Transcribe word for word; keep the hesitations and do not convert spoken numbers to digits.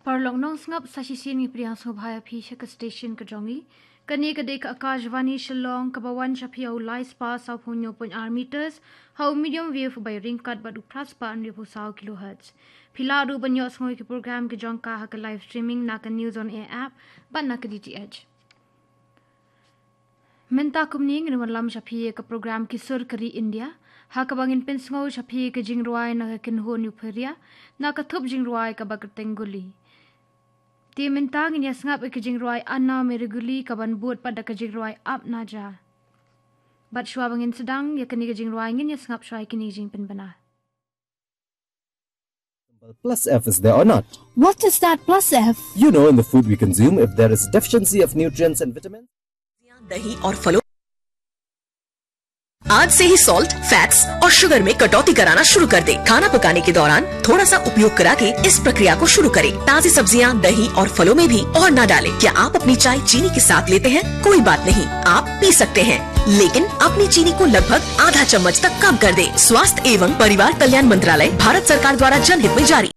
Paralok nongsngap, sa shisien ngi pdiang sngewbha ïa phi sha ka station ka jong ngi. Kane ka dei ka Akashvani Shillong kaba wan sha phi ha u lai spah saw phew hynñiew point ar meters, ha u medium wave ba ïaryngkat bad u phra spah hynriew phew saw kilohertz. Phi lah ruh ban ïohsngew ïa ki program ki jong ka ha ka live streaming na ka News on Air app bad na ka D T H. Mynta kumne ngin wanlam sha phi ïa ka program Ki Sur ka Ri India, ha kaba ngin pynsngew sha phi ïa ka jingrwai na ka kynhun Euphoria, na ka thup jingrwai kaba kyrteng Guli. Te mynta ngin ïa sngap ïa ka jingrwai Anna Mere Guli kaban bud pat da ka jingrwai Ap Na Ja. Bad shuwa ba ngin sdang ïa kane ka jingrwai, ngin ïa sngap shuwa ïa kine ki jingpynbna. Plus F is there or not? What is that plus F? You know, in the food we consume, if there is deficiency of nutrients and vitamins. दही और फलों आज से ही सॉल्ट, फैट्स और शुगर में कटौती कराना शुरू कर दें। खाना पकाने के दौरान थोड़ा सा उपयोग करा के इस प्रक्रिया को शुरू करें। ताजी सब्जियां, दही और फलों में भी और ना डालें। क्या आप अपनी चाय चीनी के साथ लेते हैं? कोई बात नहीं, आप पी सकते हैं, लेकिन अपनी चीनी को लगभग आधा चम्मच तक कम कर दें। स्वास्थ्य एवं परिवार कल्याण मंत्रालय, भारत सरकार द्वारा जनहित में जारी।